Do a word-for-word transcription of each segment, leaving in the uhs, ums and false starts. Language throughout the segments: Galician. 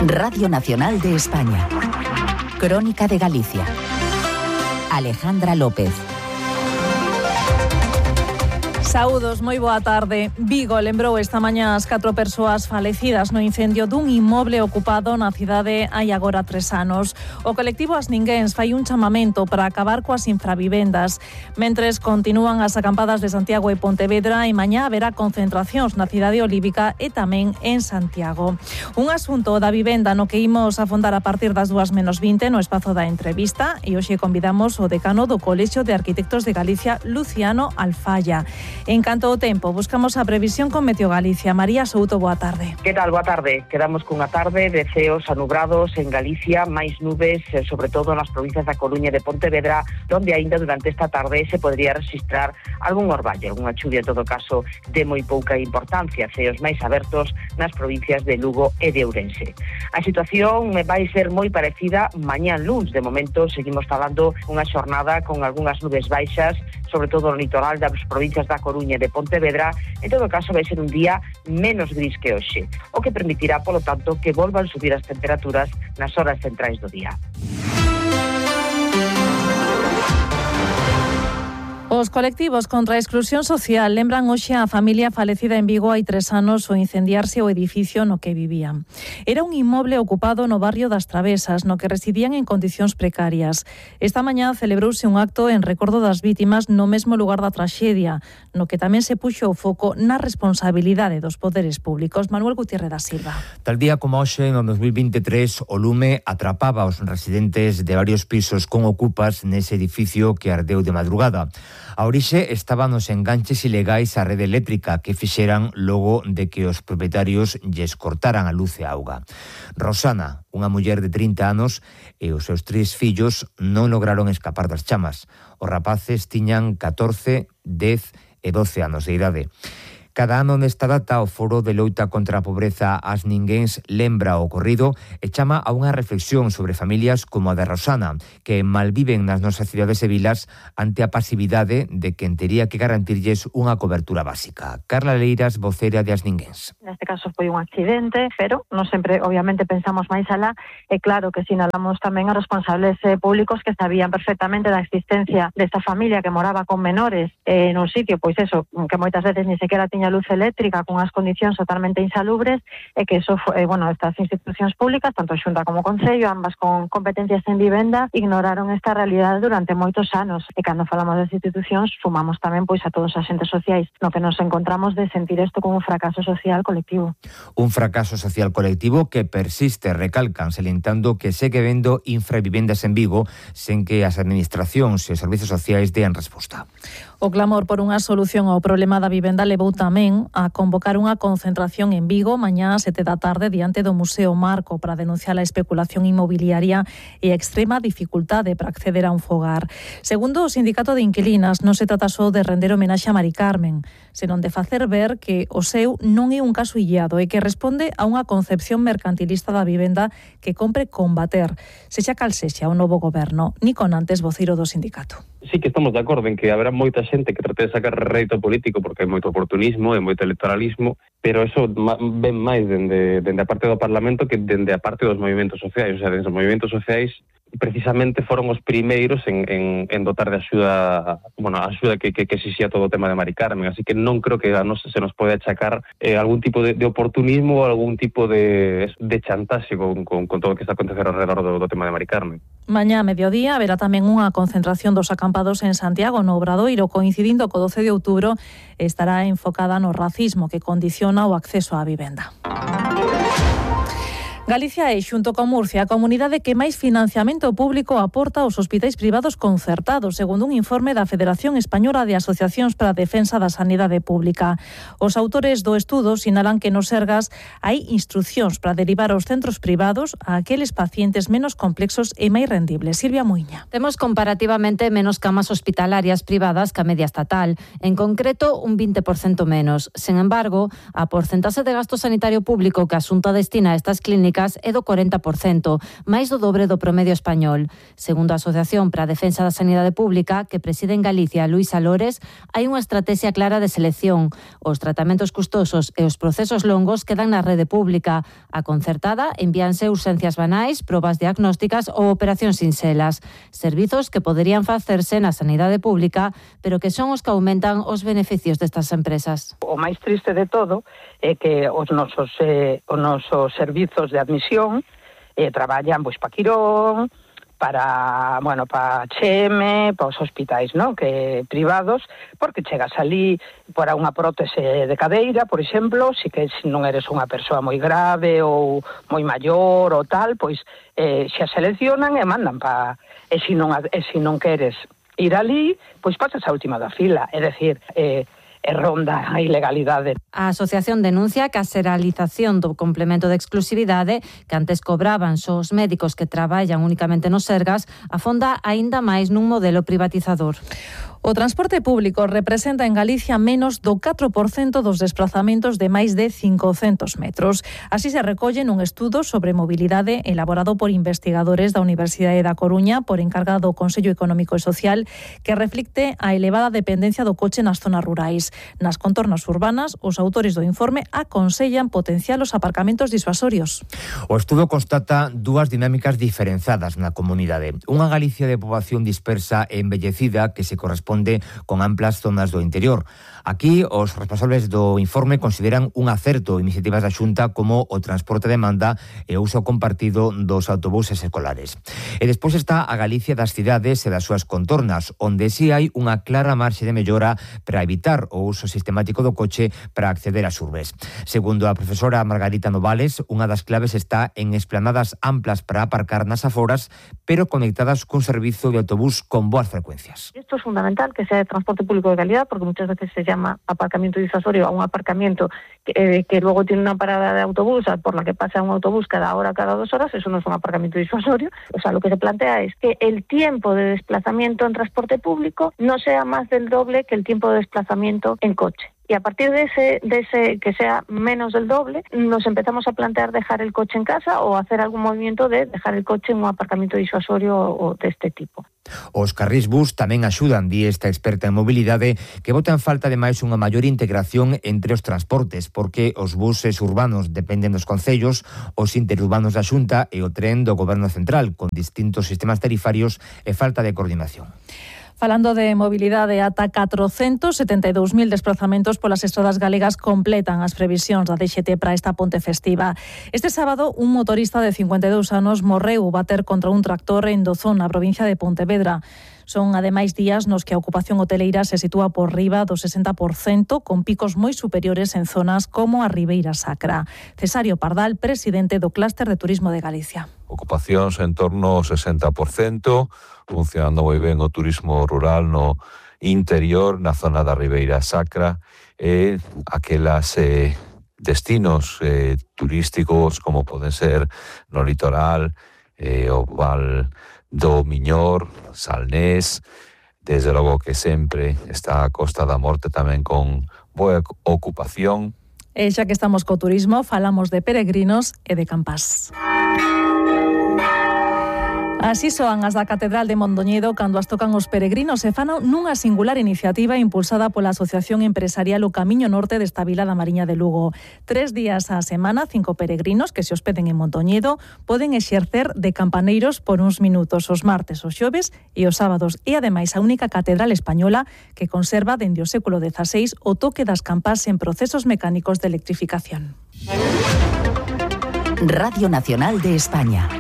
Radio Nacional de España. Crónica de Galicia. Alejandra López. Saúdos, moi boa tarde. Vigo lembrou esta mañá as catro persoas falecidas no incendio dun inmoble ocupado na cidade hai agora tres anos. O colectivo As Ninguéns fai un chamamento para acabar coas infravivendas. Mentres continúan as acampadas de Santiago e Pontevedra, e mañá haberá concentracións na cidade olívica e tamén en Santiago. Un asunto da vivenda no que imos afondar a partir das dúas menos vinte no espazo da entrevista, e hoxe convidamos o decano do Colexio de Arquitectos de Galicia, Luciano Alfaya. En canto ao tempo, buscamos a previsión con Meteo Galicia. María Souto, boa tarde. Que tal? Boa tarde. Quedamos cunha tarde de ceos anubrados en Galicia, máis nubes, sobre todo nas provincias da Coruña e de Pontevedra, onde aínda durante esta tarde se podría registrar algún orballo, unha chuvia en todo caso de moi pouca importancia, ceos máis abertos nas provincias de Lugo e de Ourense. A situación vai ser moi parecida mañán luns. De momento seguimos falando unha xornada con algunhas nubes baixas, sobre todo no litoral das provincias da Coruña e de Pontevedra. En todo caso vai ser un día menos gris que hoxe, o que permitirá, polo tanto, que volvan subir as temperaturas nas horas centrais do día. Os colectivos contra a exclusión social lembran hoxe a familia falecida en Vigo hai tres anos ao incendiarse o edificio no que vivían. Era un inmoble ocupado no barrio das Travesas, no que residían en condicións precarias. Esta mañá celebrouse un acto en recordo das vítimas no mesmo lugar da traxedia, no que tamén se puxo o foco na responsabilidade dos poderes públicos. Manuel Gutiérrez da Silva. Tal día como hoxe, no dos mil veintitrés, o lume atrapaba aos residentes de varios pisos con ocupas nese edificio que ardeu de madrugada. A orixe estaba nos enganches ilegais á rede eléctrica que fixeran logo de que os propietarios lles cortaran a luz e a auga. Rosana, unha muller de trinta anos, e os seus tres fillos non lograron escapar das chamas. Os rapaces tiñan catorce, dez e doce anos de idade. Cada ano nesta data o Foro de Loita contra a Pobreza As Ninguéns lembra o ocorrido e chama a unha reflexión sobre familias como a de Rosana, que malviven nas nosas cidades e vilas ante a pasividade de quen tería que garantirlles unha cobertura básica. Carla Leiras, vocera de As Ninguéns. Neste caso foi un accidente, pero non sempre, obviamente, pensamos máis alá, e claro que sinalamos tamén a responsables eh, públicos que sabían perfectamente da existencia desta familia que moraba con menores eh, nun sitio, pois eso, que moitas veces ni sequera tiña luz eléctrica, con as condicións totalmente insalubres, e que eso foi, bueno, estas institucións públicas, tanto Xunta como Concello, ambas con competencias en vivenda, ignoraron esta realidade durante moitos anos, e cando falamos das institucións sumamos tamén pois a todos os agentes sociais, no que nos encontramos de sentir isto como un fracaso social colectivo. Un fracaso social colectivo que persiste, recalcan, salientando que segue vendo infravivendas en Vigo sen que as administracións e os servizos sociais dean resposta. O clamor por unha solución ao problema da vivenda levou tamén a convocar unha concentración en Vigo mañá ás sete da tarde diante do Museo Marco para denunciar a especulación inmobiliaria e a extrema dificultade para acceder a un fogar. Segundo o Sindicato de Inquilinas, non se trata só de render homenaxe a Mari Carmen, senón de facer ver que o seu non é un caso illado e que responde a unha concepción mercantilista da vivenda que compre combater, sexa cal sexa o novo goberno. Nico Nantes, voceiro do sindicato. Sí que estamos de acordo en que haberá moita xente que trate de sacar rédito político porque hai moito oportunismo e moito electoralismo, pero eso ven máis dende, dende a parte do Parlamento que dende a parte dos movimentos sociais. O sea, dende os movimentos sociais precisamente foron os primeiros en, en, en dotar de axuda, bueno, a axuda que, que, que exixía todo o tema de Mari Carmen, así que non creo que a nos, se nos pode achacar eh, algún tipo de, de oportunismo ou algún tipo de, de chantaxe con, con, con todo o que está a acontecer alrededor do, do tema de Mari Carmen. Mañá a mediodía haberá tamén unha concentración dos acampados en Santiago, no Obradoiro, coincidindo co doce de outubro, estará enfocada no racismo que condiciona o acceso á vivenda. Galicia é, xunto con Murcia, a comunidade que máis financiamento público aporta aos hospitais privados concertados, segundo un informe da Federación Española de Asociacións para a Defensa da Sanidade Pública. Os autores do estudo sinalan que nos Sergas hai instruccións para derivar aos centros privados a aqueles pacientes menos complexos e máis rendibles. Silvia Muiña. Temos comparativamente menos camas hospitalarias privadas que a media estatal, en concreto un vinte por cento menos. Sen embargo, a porcentaxe de gasto sanitario público que a Xunta destina a estas clínicas públicas é do corenta por cento, máis do dobre do promedio español. Segundo a Asociación para a Defensa da Sanidade Pública, que preside en Galicia Luisa Lores, hai unha estrategia clara de selección. Os tratamentos custosos e os procesos longos quedan na rede pública. A concertada envíanse urxencias banais, probas diagnósticas ou operacións sinxelas. Servizos que poderían facerse na sanidade pública, pero que son os que aumentan os beneficios destas empresas. O máis triste de todo é que os nosos, eh, os nosos servizos de admisión eh, traballan pois, para Quirón, para, bueno, para H M, para os hospitais, ¿no? Que privados, porque chegas ali para unha prótese de cadeira, por exemplo, si que se non eres unha persoa moi grave ou moi maior ou tal, pois eh, xa seleccionan e mandan para... E se non, e se non queres ir ali, pois pasas a última da fila, é dicir, eh, e ronda a ilegalidade. A asociación denuncia que a xeralización do complemento de exclusividade que antes cobraban só os médicos que traballan únicamente nos Sergas afonda aínda máis nun modelo privatizador. O transporte público representa en Galicia menos do catro por cento dos desplazamentos de máis de cincocentos metros. Así se recolle nun estudo sobre mobilidade elaborado por investigadores da Universidade da Coruña por encargado do Consello Económico e Social, que reflicte a elevada dependencia do coche nas zonas rurais. Nas contornas urbanas, os autores do informe aconsellan potenciar os aparcamentos disuasorios. O estudo constata dúas dinámicas diferenciadas na comunidade. Unha Galicia de poboación dispersa e envellecida que se corresponde con amplas zonas do interior. Aquí, os responsables do informe consideran un acerto iniciativas da Xunta como o transporte de demanda e o uso compartido dos autobuses escolares. E despois está a Galicia das cidades e das súas contornas, onde si hai unha clara marxe de mellora para evitar o uso sistemático do coche para acceder ás urbes. Segundo a profesora Margarita Novales, unha das claves está en esplanadas amplas para aparcar nas aforas, pero conectadas cun servizo de autobús con boas frecuencias. Esto es fundamental, que sea de transporte público de calidad, porque muchas veces se llama aparcamiento disuasorio a un aparcamiento que, eh, que luego tiene una parada de autobús por la que pasa un autobús cada hora, cada dos horas. Eso no es un aparcamiento disuasorio. O sea, lo que se plantea es que el tiempo de desplazamiento en transporte público no sea más del doble que el tiempo de desplazamiento en coche. Y a partir de ese, de ese que sea menos del doble, nos empezamos a plantear dejar el coche en casa o hacer algún movimiento de dejar el coche en un aparcamiento disuasorio o de este tipo. Os carrís bus tamén axudan, di esta experta en mobilidade, que bota en falta ademais unha maior integración entre os transportes, porque os buses urbanos dependen dos concellos, os interurbanos da Xunta e o tren do Goberno Central, con distintos sistemas tarifarios e falta de coordinación. Falando de mobilidade, ata catrocentos setenta e dous mil desplazamentos polas estradas galegas completan as previsións da D X T para esta ponte festiva. Este sábado, un motorista de cincuenta e dous anos morreu ao bater contra un tractor en Dozón, na provincia de Pontevedra. Son, ademais, días nos que a ocupación hoteleira se sitúa por riba do sesenta por cento, con picos moi superiores en zonas como a Ribeira Sacra. Cesario Pardal, presidente do Clúster de Turismo de Galicia. Ocupacións en torno ao sesenta por cento, funcionando moi ben o turismo rural no interior, na zona da Ribeira Sacra, e aquelas eh, destinos eh, turísticos como poden ser no litoral, eh, o Val do Miñor, Salnés, desde logo que sempre está a Costa da Morte tamén con boa ocupación. E xa que estamos co turismo, falamos de peregrinos e de campás. Así soan as da Catedral de Mondoñedo cando as tocan os peregrinos e fano nunha singular iniciativa impulsada pola Asociación Empresarial O Camiño Norte desta vila da Mariña de Lugo. Tres días á semana, cinco peregrinos que se hospeden en Mondoñedo poden exercer de campaneiros por uns minutos os martes, os xoves e os sábados. E ademais a única catedral española que conserva dende o século dezaseis o toque das campás en procesos mecánicos de electrificación. Radio Nacional de España.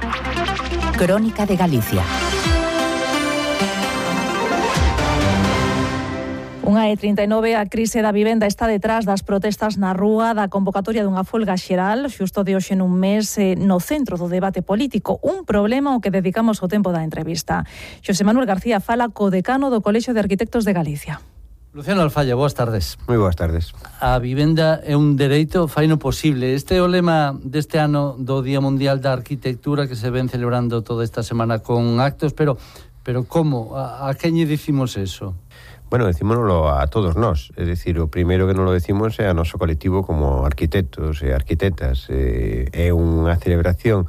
Crónica de Galicia. Unha E trinta e nove, a crise da vivenda está detrás das protestas na rúa da convocatoria dunha folga xeral, xusto de hoxe nun mes, no centro do debate político. Un problema ao que dedicamos o tempo da entrevista. Xosé Manuel García fala co decano do Colexio de Arquitectos de Galicia. Luciano Alfaya, boas tardes. Moi boas tardes. A vivenda é un dereito, faino posible. Este é o lema deste ano do Día Mundial da Arquitectura que se ven celebrando toda esta semana con actos, pero pero como? A, a quen lle dicimos eso? Bueno, decímonoslo a todos nós, é dicir, o primeiro que non lo decimos é a noso colectivo como arquitectos e arquitectas. Eh, é unha celebración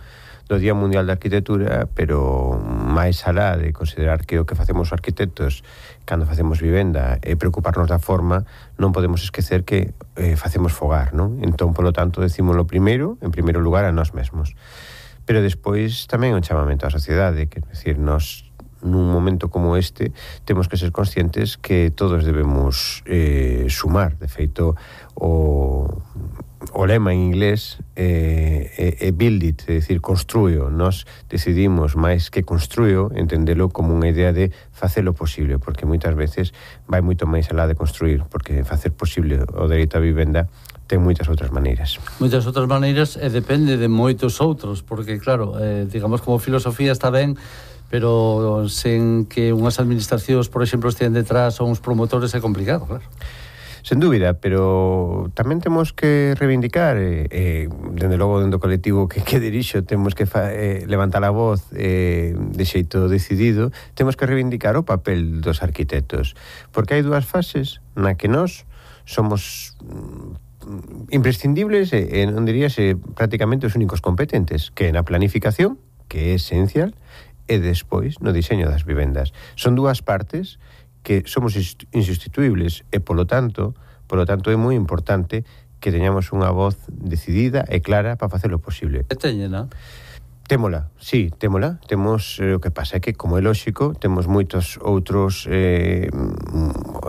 do Día Mundial da Arquitectura, pero máis alá de considerar que o que facemos os arquitectos cando facemos vivenda é preocuparnos da forma, non podemos esquecer que eh, facemos fogar, non? Entón, polo tanto, decímoslo primeiro, en primeiro lugar, a nós mesmos. Pero despois tamén un chamamento á sociedade, que, é dicir, nós nun momento como este temos que ser conscientes que todos debemos eh, sumar. De feito, o, o lema en inglés é eh, eh, build it, é dicir, construyo. Nós decidimos máis que construyo entendelo como unha idea de facelo posible, porque moitas veces vai moito máis alá de construir, porque facer posible o dereito á vivenda ten moitas outras maneiras. Moitas outras maneiras e depende de moitos outros, porque claro, eh, digamos como filosofía está ben, pero sen que unhas administracións, por exemplo, estén detrás ou uns promotores é complicado, claro. Sen dúbida, pero tamén temos que reivindicar, eh, eh, dende logo dentro do colectivo que, que dirixo, temos que fa, eh, levantar a voz eh, de xeito decidido, temos que reivindicar o papel dos arquitectos, porque hai dúas fases na que nós somos imprescindibles e, e non diríase prácticamente os únicos competentes, que é na planificación, que é esencial, e despois no diseño das vivendas. Son dúas partes que somos insustituibles e, polo tanto, polo tanto é moi importante que teñamos unha voz decidida e clara para facer o posible. E teñena? Témola, sí, témola. Temos, eh, o que pasa é que, como é lóxico, temos moitos outros eh,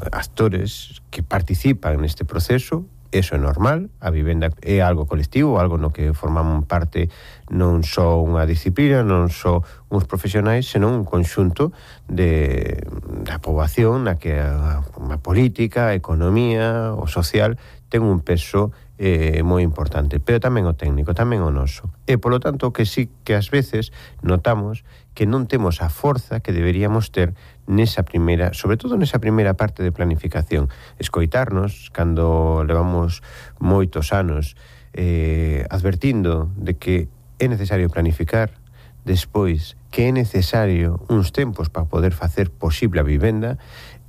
actores que participan neste proceso. Eso é normal, a vivenda é algo colectivo, algo no que forman parte non só unha disciplina, non só uns profesionais, senón un conxunto de, da poboación na que a, a política, a economía, o social ten un peso eh, moi importante, pero tamén o técnico, tamén o noso. E, polo tanto, que sí que ás veces notamos que non temos a forza que deberíamos ter nesa primeira, sobre todo nesa primeira parte de planificación. Escoitarnos, cando levamos moitos anos eh, advertindo de que é necesario planificar, despois que é necesario uns tempos para poder facer posible a vivenda,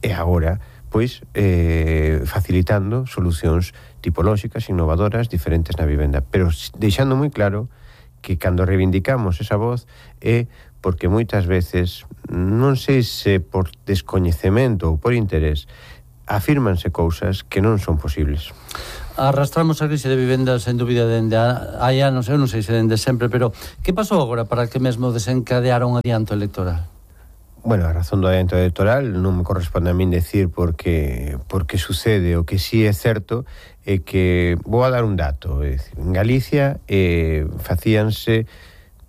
e agora, pois, eh, facilitando solucións tipolóxicas, innovadoras, diferentes na vivenda, pero deixando moi claro que cando reivindicamos esa voz é porque moitas veces, non sei se por descoñecemento ou por interés, afírmanse cousas que non son posibles. Arrastramos a crise de vivendas en dúbida dende hai anos, eu non sei se dende sempre, pero que pasou agora para que mesmo desencadeara un adianto electoral? Bueno, a razón do adianto electoral non me corresponde a min decir porque porque sucede. O que sí é certo é que vou a dar un dato, é dicir, en Galicia eh, facíanse,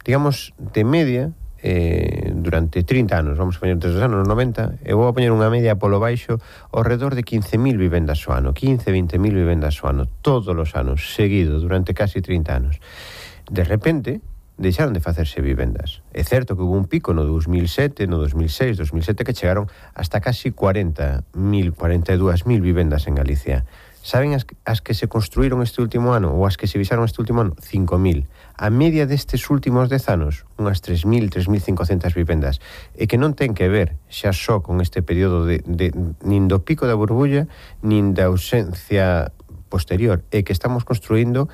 digamos, de media eh, durante trinta anos, vamos a poñer desde os anos noventa, e vou a poñer unha media polo baixo ao redor de quince mil vivendas ao ano, quince, vinte mil vivendas ao ano, todos os anos, seguido, durante casi trinta anos. De repente, deixaron de facerse vivendas. É certo que hubo un pico no dos mil sete, no dos mil seis, dos mil sete, que chegaron hasta casi cuarenta mil, cuarenta e dúas mil vivendas en Galicia. Saben as, as que se construíron este último ano ou as que se visaron este último ano? cinco mil. A media destes últimos dez anos, unhas tres mil, tres mil cincocentas vivendas. E que non ten que ver xa só con este período de, de nin do pico da burbulla, nin da ausencia posterior. E que estamos construindo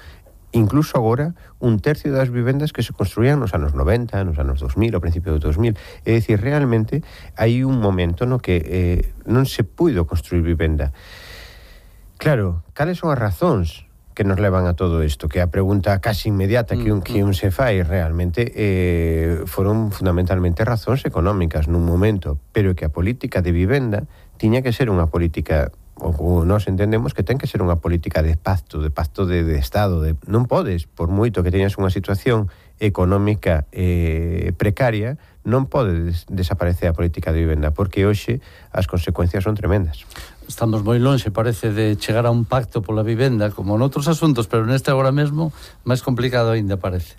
incluso agora un tercio das vivendas que se construían nos anos noventa, nos anos dos mil, ao principio do dos mil. É dicir, realmente hai un momento no que eh, non se puido construir vivenda. Claro, cales son as razóns que nos levan a todo isto? Que a pregunta casi inmediata que un, que un se fai realmente eh, foron fundamentalmente razóns económicas nun momento, pero que a política de vivenda tiña que ser unha política, ou nós entendemos que ten que ser unha política de pacto, de pacto de, de Estado. De, non podes, por moito que teñas unha situación económica eh, precaria, non pode des, desaparecer a política de vivenda, porque hoxe as consecuencias son tremendas. Estamos moi lonxe, parece, de chegar a un pacto pola vivenda, como noutros asuntos, pero neste agora mesmo máis complicado aínda parece.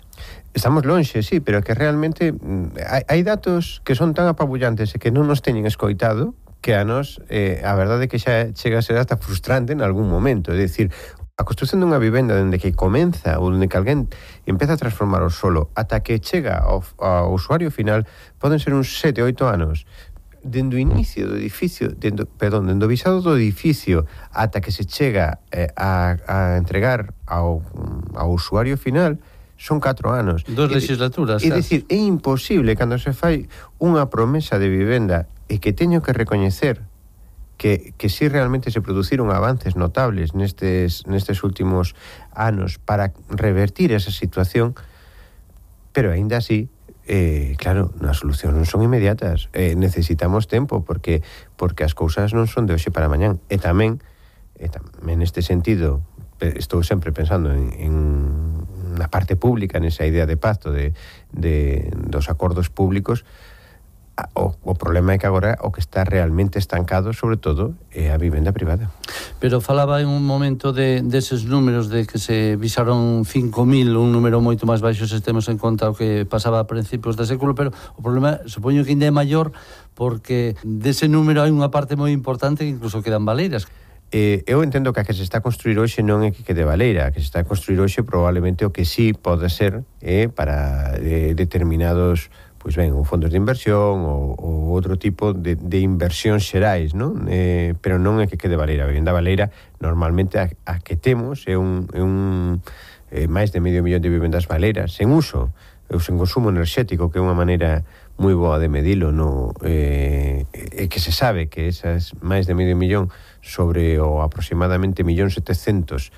Estamos lonxe, sí, pero que realmente hai, hai datos que son tan apabullantes e que non nos teñen escoitado que a nos, eh, a verdade é que xa chega a ser hasta frustrante en algún momento. É dicir, a construción dunha vivenda dende que comeza ou dende que alguén empeza a transformar o solo ata que chega ao, ao usuario final poden ser uns sete, oito anos. dendo o inicio do edificio, dendo, perdón, dendo o visado do edificio ata que se chega eh, a, a entregar ao, ao usuario final, son catro anos. Dos legislaturas. É dicir, é imposible cando se fai unha promesa de vivenda e que teño que recoñecer que, que si realmente se produciron avances notables nestes, nestes últimos anos para revertir esa situación, pero aínda así, eh, claro, as solucións non son inmediatas, eh, necesitamos tempo porque porque as cousas non son de hoxe para mañán. E tamén, e tamén neste sentido, estou sempre pensando en, en na parte pública, nesa idea de pacto de, de, dos acordos públicos. O, o problema é que agora o que está realmente estancado, sobre todo, é a vivenda privada. Pero falaba en un momento de deses números de que se visaron cinco mil, un número moito máis baixo se temos en conta o que pasaba a principios do século, pero o problema, supoño que ainda é maior, porque dese número hai unha parte moi importante que incluso quedan baleiras. Eh, eu entendo que a que se está a construir hoxe non é que quede baleira, a que se está a construir hoxe probablemente o que sí pode ser eh, para eh, determinados, pois ben, ou fondos de inversión ou, ou outro tipo de, de inversións xerais, non? Eh, pero non é que quede baleira. A vivenda baleira normalmente a, a que temos é un, é un eh, máis de medio millón de vivendas baleiras sen uso, ou sen consumo enerxético, que é unha maneira moi boa de medilo, no, eh, e que se sabe que esas máis de medio millón sobre o aproximadamente millón setecientos.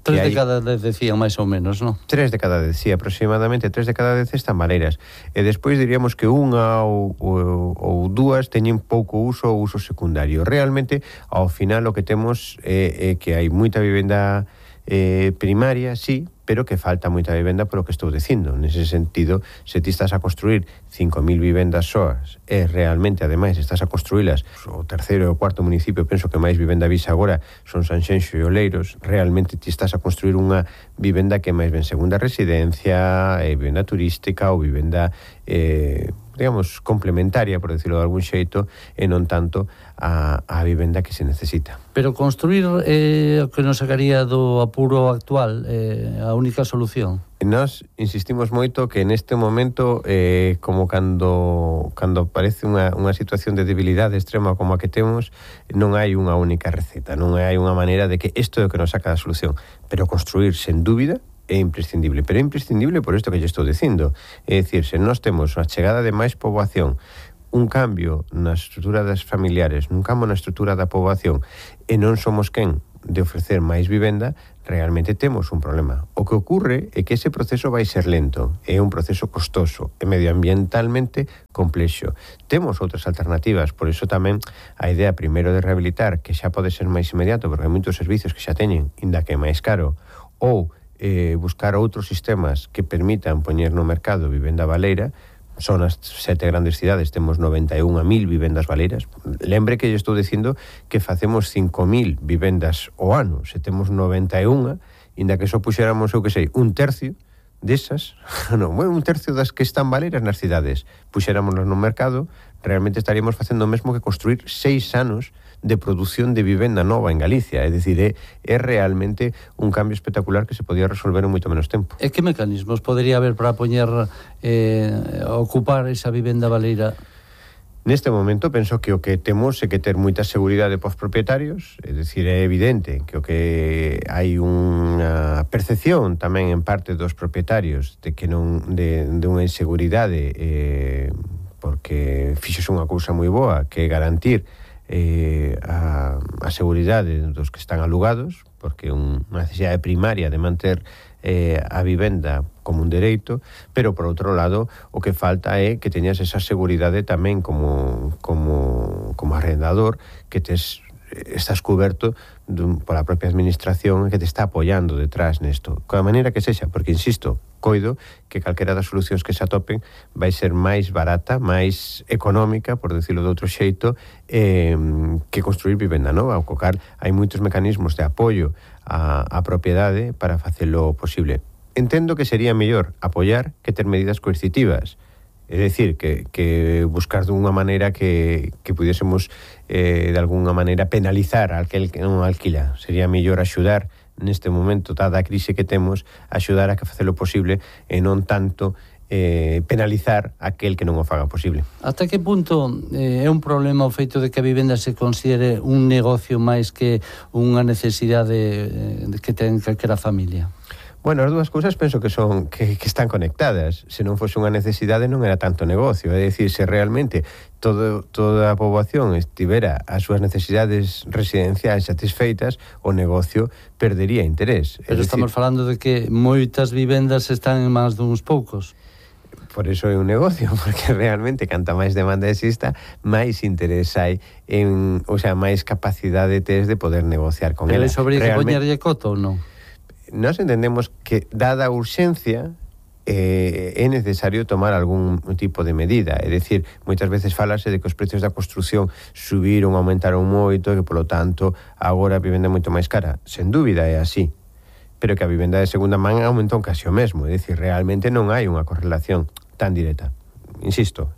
Tres de cada dez decían máis ou menos, non? Tres de cada dez, sí, aproximadamente tres de cada dez están baleiras. E despois diríamos que unha ou, ou, ou dúas teñen pouco uso ou uso secundario. Realmente, ao final, o que temos é, é que hai moita vivenda eh, primaria, sí, pero que falta moita vivenda polo que estou dicindo. Nese sentido, se ti estás a construir cinco mil vivendas soas e realmente, ademais, estás a construílas, o terceiro e o cuarto municipio, penso que máis vivenda visa agora son Sanxenxo e Oleiros, realmente ti estás a construir unha vivenda que máis ben segunda residencia, eh, vivenda turística ou vivenda, eh, digamos, complementaria, por decirlo de algún xeito, e non tanto a, a vivenda que se necesita. Pero construir eh, o que nos sacaría do apuro actual, eh, a única solución? Nós insistimos moito que neste momento, eh, como cando cando aparece unha, unha situación de debilidade extrema como a que temos, non hai unha única receta, non hai unha maneira de que isto é o que nos saca da solución, pero construir, sen dúbida, é imprescindible, pero é imprescindible por isto que lle estou dicindo. É dicir, se nós temos a chegada de máis poboación, un cambio na estrutura das familiares, un cambio na estrutura da poboación, e non somos quen de ofrecer máis vivenda, realmente temos un problema. O que ocurre é que ese proceso vai ser lento, é un proceso costoso e medioambientalmente complexo. Temos outras alternativas, por iso tamén a idea primeiro de rehabilitar, que xa pode ser máis inmediato, porque hai moitos servicios que xa teñen, inda que é máis caro, ou eh, buscar outros sistemas que permitan poñer no mercado vivenda baleira. Son as sete grandes cidades, temos noventa e unha mil vivendas baleiras. Lembre que lle estou dicindo que facemos cinco mil vivendas ao ano. Se temos noventa e unha, inda que só puxéramos, eu que sei, un tercio desas, non, bueno, un tercio das que están baleiras nas cidades, puxéramonos no mercado, realmente estaríamos facendo o mesmo que construir seis anos de produción de vivenda nova en Galicia. É dicir, é, é realmente un cambio espectacular que se podía resolver en moito menos tempo. E que mecanismos podería haber para poñer eh, ocupar esa vivenda baleira? Neste momento penso que o que temos é que ter moita seguridade pos propietarios, é dicir, é evidente que o que hai unha percepción tamén en parte dos propietarios de que non de, de unha inseguridade, eh, porque fixose unha cousa moi boa, que é garantir eh, a, a seguridade dos que están alugados, porque é unha necesidade primaria de manter eh, a vivenda como un dereito, pero por outro lado o que falta é que teñas esa seguridade tamén como, como, como arrendador, que tes, estás coberto dun, pola propia administración que te está apoiando detrás nesto, coa maneira que sexa, porque insisto, coido que calquera das solucións que se atopen vai ser máis barata, máis económica, por decirlo de outro xeito, eh, que construir vivenda nova, ao cocar hai moitos mecanismos de apoio á, á propiedade para facelo posible. Entendo que sería mellor apoiar que ter medidas coercitivas, é dicir, que, que buscar dunha maneira que, que pudiésemos eh, de alguna maneira penalizar a aquel que non alquila. Sería mellor axudar neste momento, dada a crise que temos, axudar a que facelo posible e non tanto eh, penalizar aquel que non o faga posible. Ata que punto eh, é un problema o feito de que a vivenda se considere un negocio máis que unha necesidade eh, que ten calquera familia? Bueno, as dúas cousas penso que son que, que están conectadas. Se non fose unha necesidade non era tanto negocio. É dicir, se realmente todo, toda a poboación estivera as súas necesidades residenciais satisfeitas, o negocio perdería interés. Pero é estamos dicir, falando de que moitas vivendas están en mans duns poucos. Por iso é un negocio, porque realmente canta máis demanda exista, máis interés hai en, o sea, máis capacidade tes de poder negociar con Pero ela. Pero iso habría que realmente, poñerlle coto ou non? Nos entendemos que, dada a urxencia, eh, é necesario tomar algún tipo de medida. É dicir, moitas veces falase de que os precios da construción subiron, aumentaron moito, e que, polo tanto, agora a vivenda é moito máis cara. Sen dúbida é así. Pero que a vivenda de segunda man aumentou casi o mesmo. É dicir, realmente non hai unha correlación tan directa. Insisto,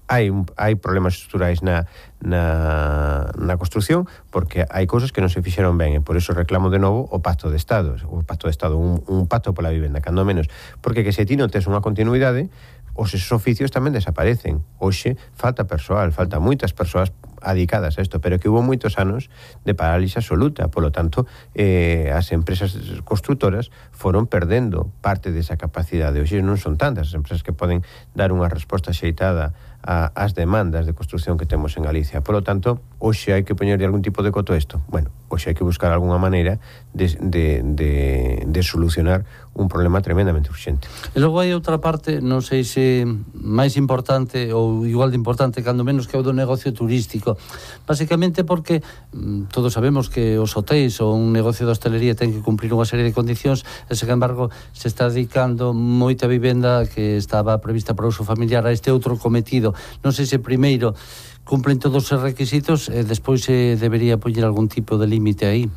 hai, un, hai problemas estruturais na, na, na construción, porque hai cousas que non se fixeron ben, e por iso reclamo de novo o pacto de Estado, o pacto de Estado, un, un pacto pola vivenda, cando menos, porque que se ti non tes unha continuidade, os esos oficios tamén desaparecen. Hoxe falta persoal, falta moitas persoas adicadas a isto, pero que hubo moitos anos de parálise absoluta, polo tanto, eh, as empresas constructoras foron perdendo parte desa capacidade. Hoxe non son tantas as empresas que poden dar unha resposta xeitada a, as demandas de construción que temos en Galicia. Polo tanto, hoxe hai que poñerle algún tipo de coto a isto. Bueno, hoxe hai que buscar algunha maneira de, de, de, de solucionar un problema tremendamente urxente. E logo hai outra parte, non sei se máis importante ou igual de importante, cando menos, que é o do negocio turístico. Básicamente porque mm, todos sabemos que os hotéis ou un negocio de hostelería ten que cumprir unha serie de condicións, e, sen embargo, se está dedicando moita vivenda que estaba prevista para uso familiar a este outro cometido. Non sei se primeiro cumplen todos os requisitos e despois se debería poñer algún tipo de límite aí.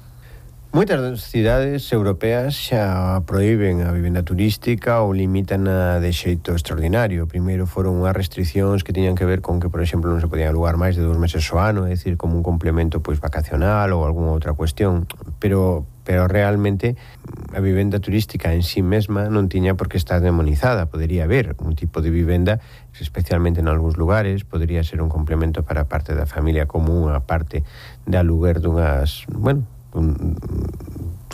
Moitas das cidades europeas xa proíben a vivenda turística ou limitan a de xeito extraordinario. Primeiro foron unhas restriccións que tiñan que ver con que, por exemplo, non se podían alugar máis de dous meses ao ano, é dicir, como un complemento pois vacacional ou algunha outra cuestión, pero pero realmente a vivenda turística en sí mesma non tiña por que estar demonizada. Podería haber un tipo de vivenda, especialmente en algúns lugares, podería ser un complemento para a parte da familia, como unha parte de aluguer dunhas, bueno, un,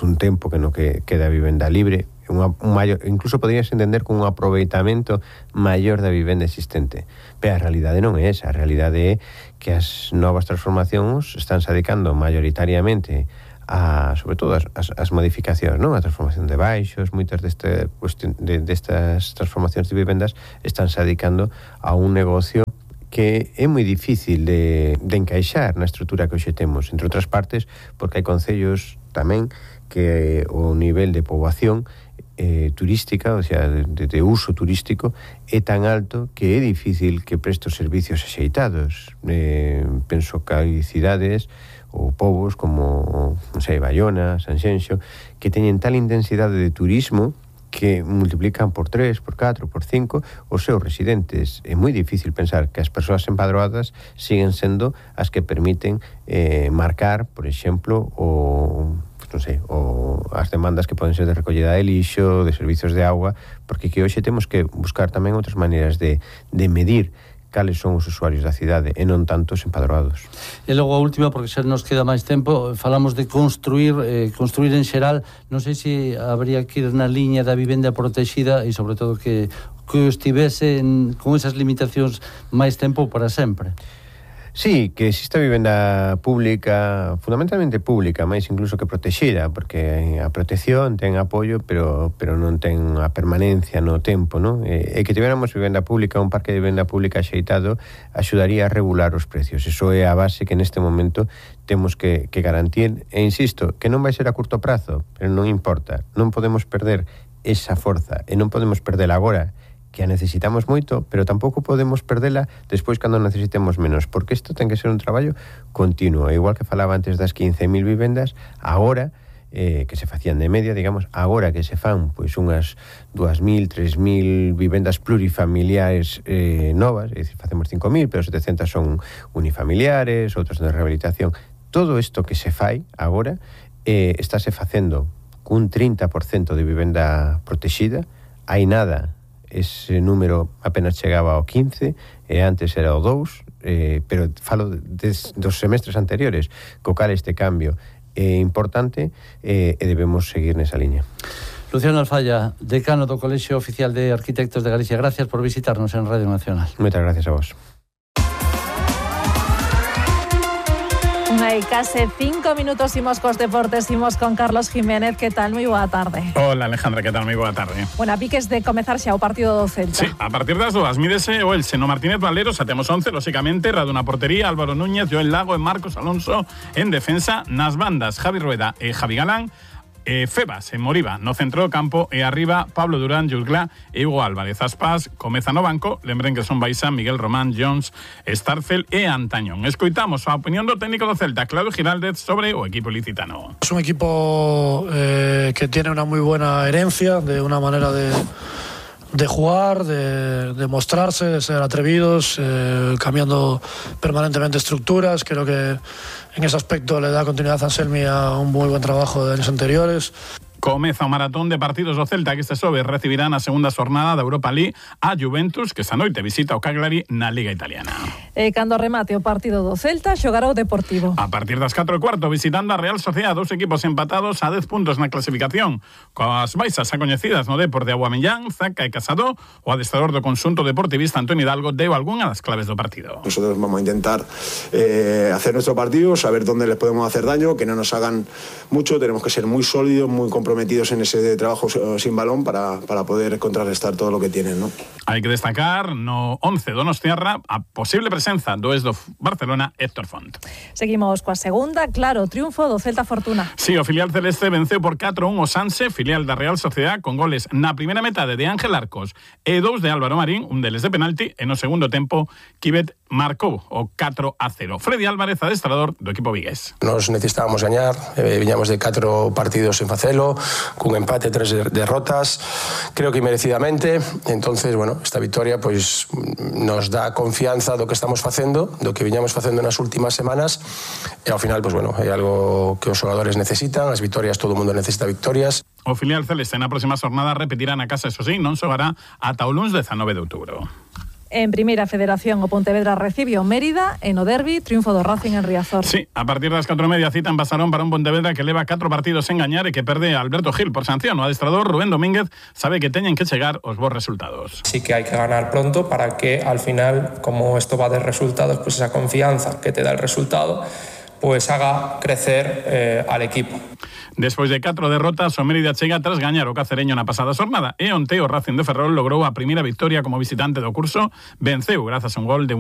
un tempo que no que queda vivenda libre, unha, un maior, incluso poderías entender con un aproveitamento maior da vivenda existente. Pero a realidade non é esa, a realidade é que as novas transformacións están se dedicando maioritariamente a, sobre todo, as, as, as modificacións, non? A transformación de baixos, moitas deste, de, destas transformacións de vivendas están se dedicando a un negocio que é moi difícil de, de encaixar na estrutura que hoxe temos, entre outras partes, porque hai concellos tamén que o nivel de poboación eh, turística, o sea, de, de uso turístico, é tan alto que é difícil que preste os servicios axeitados. Eh, penso que hai cidades ou povos como, non sei, Bayona, Sanxenxo, que teñen tal intensidade de turismo que multiplican por tres, por catro, por cinco os seus residentes. É moi difícil pensar que as persoas empadroadas siguen sendo as que permiten eh, marcar, por exemplo, o, non sei, o, as demandas que poden ser de recollida de lixo, de servizos de auga, porque que hoxe temos que buscar tamén outras maneiras de, de medir cales son os usuarios da cidade e non tanto os empadroados. E logo a última, porque xa nos queda máis tempo, falamos de construir, eh, construir en xeral, non sei se habría que ir na liña da vivenda protexida e sobre todo que, que estivese en, con esas limitacións máis tempo para sempre. Sí, que existe vivenda pública, fundamentalmente pública, máis incluso que protexida, porque a protección ten apoio, pero pero non ten a permanencia no tempo, non? E, e que tivéramos vivenda pública, un parque de vivenda pública axeitado, axudaría a regular os precios. Eso é a base que neste momento temos que, que garantir. E insisto, que non vai ser a curto prazo, pero non importa. Non podemos perder esa forza, e non podemos perdela agora, que a necesitamos moito, pero tampouco podemos perdela despois cando necesitemos menos, porque isto ten que ser un traballo continuo. Igual que falaba antes das quince mil vivendas, agora, eh, que se facían de media, digamos, agora que se fan pois unhas dúas mil, tres mil vivendas plurifamiliares eh, novas, é dicir, facemos cinco mil, pero setecentas son unifamiliares, outras de rehabilitación. Todo isto que se fai agora eh, estáse facendo cun trinta por cento de vivenda protexida. Hai nada ese número apenas chegaba ao quince, e antes era o dous, eh, pero falo des, dos semestres anteriores, co cal este cambio é importante eh, e debemos seguir nesa liña. Luciano Alfaya, decano do Colexio Oficial de Arquitectos de Galicia, gracias por visitarnos en Radio Nacional. Moitas gracias a vos. Hai case cinco minutos imos cos deportes, imos con Carlos Jiménez. Que tal? Moi boa tarde. Hola Alejandra, que tal? Moi boa tarde. Bueno, a piques de comezar xa o partido do Celta. Sí, a partir das dúas, mídese o Elche no Martínez Valero, xa temos once, lóxicamente, Raduna portería, Álvaro Núñez, Joel Lago e Marcos Alonso en defensa, nas bandas Javi Rueda e Javi Galán, Eh, Febas en Moriba no centro do campo e arriba Pablo Durán, Jurglá e Hugo Álvarez. Aspas comeza no banco, lembren que son Baixa, Miguel Román, Jones, Starcel e Antañón. Escoitamos a opinión do técnico do Celta, Claudio Giraldez, sobre o equipo licitano. Es un equipo eh, que tiene una muy buena herencia, de una manera de de jugar, de, de mostrarse, de ser atrevidos, eh, cambiando permanentemente estructuras. Creo que en ese aspecto le da continuidad a Anselmi a un muy buen trabajo de años anteriores. Comeza o maratón de partidos do Celta que este xoves recibirá na segunda xornada da Europa League a Juventus, que esta noite visita o Cagliari na Liga Italiana. E cando remate o partido do Celta, xogará o Deportivo. A partir das catro e cuarto, visitando a Real Sociedad, dos equipos empatados a dez puntos na clasificación, coas baixas xa coñecidas no Depor de Aguamellán, Zaca e Casado. O adestrador do conxunto deportivista, Antonio Hidalgo, deu algunha das claves do partido. Nosotros vamos a intentar eh, hacer nuestro partido, saber dónde les podemos hacer daño, que no nos hagan mucho. Tenemos que ser muy sólidos, muy comprometidos en ese trabajo sin balón para, para poder contrarrestar todo lo que tienen, ¿no? Hai que destacar no once donostiarra a posible presenza do ex do Barcelona, Héctor Font. Seguimos coa segunda, claro, triunfo do Celta Fortuna. Sí, o filial celeste venceu por catro a un o Sanse, filial da Real Sociedad, con goles na primeira metade de Ángel Arcos e dous de Álvaro Marín, un deles de penalti, e no segundo tempo Kibet marcou o catro a cero. Freddy Álvarez, adestrador do equipo vigués. Nos necesitábamos gañar, eh, viñamos de catro partidos en facelo, cun empate, tres derrotas, creo que merecidamente. Entonces, bueno, esta victoria pois nos dá confianza do que estamos facendo, do que viñamos facendo nas últimas semanas, e ao final, pois bueno, é algo que os xogadores necesitan, as victorias, todo o mundo necesita victorias. O filial celeste na próxima xornada repetirá na casa, eso sí, non xogará ata o luns dezanove de outubro. En Primeira Federación, o Pontevedra recibe o Mérida e no derbi, triunfo do Racing en Riazor. Sí, a partir das catro e media cita en Basarón para un Pontevedra que leva catro partidos sen gañar e que perde a Alberto Gil por sanción. O adestrador Rubén Domínguez sabe que teñen que chegar os bons resultados. Sí que hai que ganar pronto para que al final, como esto va de resultados, pues esa confianza que te da el resultado pues haga crecer eh, al equipo. Despois de catro derrotas, o Mérida chega tras gañar o Cacereño na pasada xornada e onte o Racing de Ferrol logrou a primeira victoria como visitante do curso, venceu grazas a un gol de